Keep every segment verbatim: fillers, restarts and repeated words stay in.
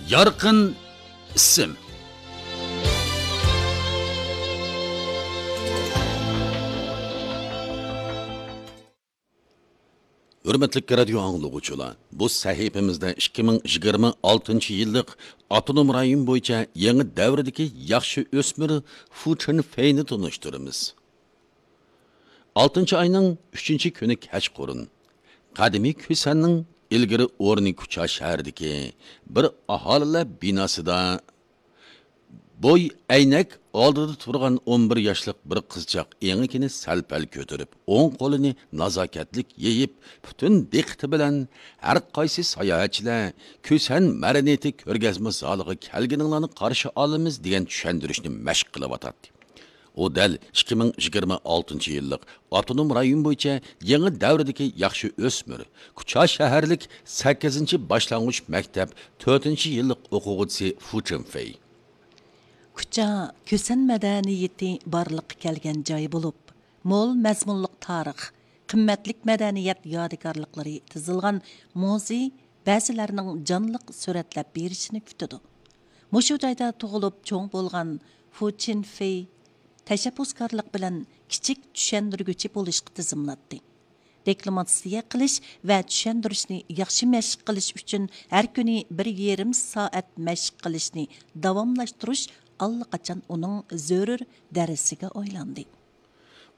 يارقىن ئىسىم. ھۆرمەتلىك رادىيو ئاڭلىغۇچىلار، بۇ سەھىپىمىزدە ئىككى مىڭ يىگىرمە ئالتىنچى يىللىق ئاپتونوم رايون بويىچە يېڭى دەۋردىكى ياخشى ئۆسمۈر فۇ چېن فېينى تونۇشتۇرىمىز. ئالتىنچى ئاينىڭ ئۈچىنچى كۈنى كەچقۇرۇن، قەدىمىي كۈسەننىڭ ئىلگىرى ئورنى كۇچا شەھىرىدىكى بىر ئاھالىلەر بىناسىدا بوي ئەينەك ئالدىدا تۇرغان ئون بىر ياشلىق بىر قىزچاق ئېڭىكىنى سەل-پەل كۆتۈرۈپ، ئوڭ قولىنى نازاكەتلىك يېيىپ، پۈتۈن دىققىتى بىلەن ھەر قايسى ساياھەتچىلەر كۈسەن مەدەنىيىتى كۆرگەزمە زالىغا كەلگىنىڭلارنى قارشى ئالىمىز دېگەن چۈشەندۈرۈشنى مەشىق قىلىۋاتاتتى. ئۇ دەل ئىككى مىڭ يىگىرمە ئالتىنچى يىللىق ئاپتونوم رايون بويىچە يېڭى دەۋردىكى ياخشى ئۆسمۈر، كۇچا شەھەرلىك سەككىزىنچى باشلانغۇچ مەكتەپ تۆتىنچى يىللىق ئوقۇغۇچىسى فۇ چېنفېي. كۇچا كۈسەن مەدەنىيىتى بارلىققا كەلگەن جاي بولۇپ، مول مەزمۇنلۇق تارىخ، قىممەتلىك مەدەنىيەت يادىكارلىقلىرى تىزىلغان مۇزېي بەزىلەرنىڭ جانلىق سۈرەتلەپ بېرىشىنى كۈتىدۇ. مۇشۇ جايدا تۇغۇلۇپ چوڭ بولغان فۇ چىنفېي تەشەببۇسكارلىق بىلەن كىچىك چۈشەندۈرگۈچى بولۇشقا تىزىملاتتى. دېكلاماتسىيە قىلىش ۋە چۈشەندۈرۈشنى ياخشى مەشىق قىلىش ئۈچۈن ھەر كۈنى بىر يېرىم سائەت مەشىق قىلىشنى داۋاملاشتۇرۇش ئاللىقاچان ئۇنىڭ زۆرۈر دەرسىگە ئايلاندى.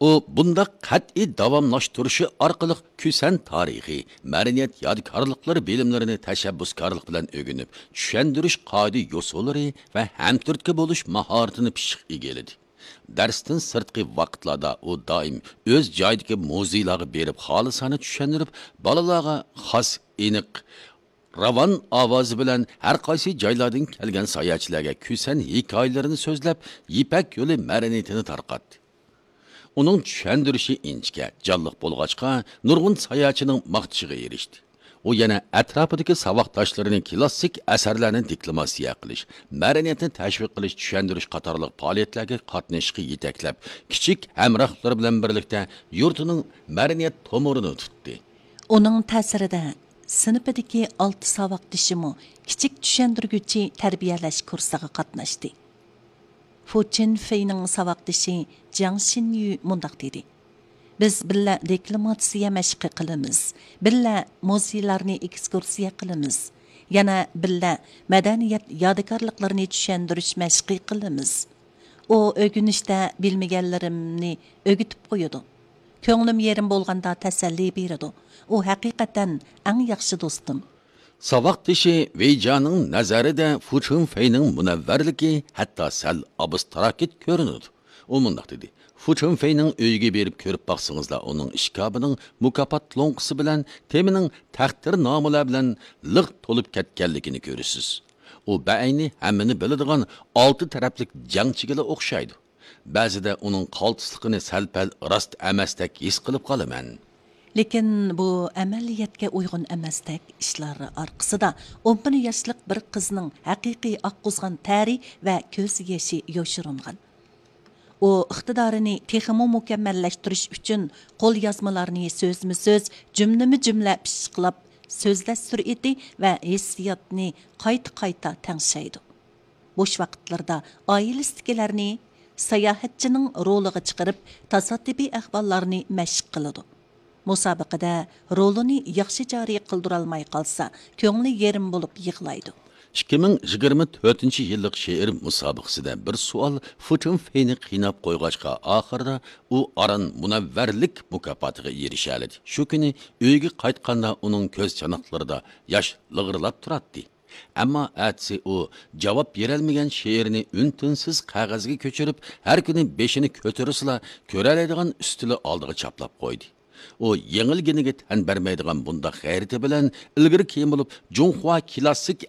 ئۇ بۇنداق قەتئىي داۋاملاشتۇرۇشى ئارقىلىق كۈسەن تارىخى، مەدەنىيەت يادىكارلىقلىرى بىلىملىرىنى تەشەببۇسكارلىق بىلەن ئۆگىنىپ، چۈشەندۈرۈش قائىدە-يوسۇنلىرى ۋە ھەمتۈرتكە بولۇش ماھارىتىنى پىششىق ئىگىلىدى. دەرستىن سىرتقى ۋاقىتلاردا ئۇ دائىم ئۆز جايىدىكى مۇزېيلارغا بېرىپ، خالىسانە چۈشەندۈرۈپ، بالىلارغا خاس، ئېنىق، راۋان ئاۋازى بىلەن ھەر قايسى جايلاردىن كەلگەن ساياھەتچىلەرگە كۈسەن ھېكايىلىرىنى سۆزلەپ، يىپەك يولى مەدەنىيىتىنى تارقاتتى. ئۇنىڭ چۈشەندۈرۈشى ئىنچىكە، جانلىق بولغاچقا، نۇرغۇن ساياھەتچىنىڭ ماختىشىغا ئېرىشتى. ئۇ يەنە ئەتراپىدىكى ساۋاقداشلىرىنى كلاسسىك ئەسەرلەرنى دېكلاماتسىيە قىلىش، مەدەنىيەتنى تەشۋىق قىلىش، چۈشەندۈرۈش قاتارلىق پائالىيەتلەرگە قاتنىشىشقا يېتەكلەپ، كىچىك ھەمراھلىرى بىلەن بىرلىكتە يۇرتىنىڭ مەدەنىيەت تومۇرىنى تۇتتى. ئۇنىڭ تەسىرىدە سىنىپىدىكى ئالتە ساۋاقدىشىمۇ كىچىك چۈشەندۈرگۈچى تەربىيەلەش كۇرسىغا قاتناشتى. فۇ چىن فېينىڭ ساۋاقدىشى جياڭ شىنيۈ مۇنداق دېدى: «بىز بىللە دېكلاماتسىيە مەشقى قىلىمىز، بىللە مۇزېيلارنى ئېكسكۇرسىيە قىلىمىز، يەنە بىللە مەدەنىيەت يادىكارلىقلىرىنى چۈشەندۈرۈش مەشقى قىلىمىز.» ئۇ ئۆگىنىشتە بىلمىگەنلىرىمنى ئۆگىتىپ قويىدۇ. كۆڭلۈم يېرىم بولغاندا تەسەللى بېرىدۇ. ئۇ ھەقىقەتەن ئەڭ ياخشى دوستۇم. ساۋاقدىشى ۋېي جياڭنىڭ نەزەرىدە فۇ چۈن فېينىڭ مۇنەۋۋەرلىكى ھەتتا سەل ئابستراكت كۆرۈنىدۇ. ئۇ مۇنداق دېدى: «فۇ چۈن فېينىڭ ئۆيىگە بېرىپ كۆرۈپ باقسىڭىزلا، ئۇنىڭ ئىشكاپىنىڭ مۇكاپات لوڭقىسى بىلەن تېمىنىڭ تەقدىرنامىلەر بىلەن لىق تولۇپ كەتكەنلىكىنى كۆرىسىز. ئۇ بەئەينى ھەممىنى بىلىدىغان ئالتە تەرەپلىك جەڭچىگىلا ئوخشايدۇ. بەزىدە ئۇنىڭ قالتىسلىقىنى سەل-پەل راست ئەمەستەك ھېس قىلىپ قالىمەن.» لېكىن بۇ ئەمەلىيەتكە ئۇيغۇن ئەمەستەك ئىشلار ئارقىسىدا ئون بىر ياشلىق بىر قىزنىڭ ھەقىقىي ئاققۇزغان تەرى ۋە كۆز يېشى يوشۇرۇنغان. ئۇ ئىقتىدارىنى تېخىمۇ مۇكەممەللەشتۈرۈش ئۈچۈن قوليازمىلارنى سۆزمۇسۆز، جۈملىمۇ جۈملە پىششىقلاپ، سۆزلەش سۈرئىتى ۋە ھېسسىياتنى قايتا-قايتا تەڭشەيدۇ. بوش ۋاقىتلىرىدا ئائىلىسىدىكىلەرنى ساياھەتچىنىڭ رولىغا چىقىرىپ، تاسادىپىي ئەھۋاللارنى مەشىق قىلىدۇ. مۇسابىقىدە رولىنى ياخشى جارى قىلدۇرالماي قالسا، كۆڭلى يېرىم بولۇپ يىغلايدۇ. ئىككى مىڭ يىگىرمە تۆتىنچى يىللىق شېئىر مۇسابىقىسىدە بىر سوئال فۇ چۈن فېينى قىيناپ قويغاچقا، ئاخىرىدا ئۇ ئاران مۇنەۋۋەرلىك مۇكاپاتىغا ئېرىشەلىدى. شۇ كۈنى ئۆيىگە قايتقاندا ئۇنىڭ كۆز چاناقلىرىدا ياش لىغىرلاپ تۇراتتى. ئەمما ئەتىسى ئۇ جاۋاب بېرەلمىگەن شېئىرنى ئۈن-تىنسىز قەغەزگە كۆچۈرۈپ، ھەر كۈنى بېشىنى كۆتۈرسىلا، كۆرەلەيدىغان ئۈستىلى ئالدىغا چاپلاپ قويدى. ئۇ يېڭىلگىنىگە تەن بەرمەيدىغان بۇنداق غەيرىتى بىلەن ئىلگىرى-كېيىن بولۇپ جۇڭخۇا كلاسسىك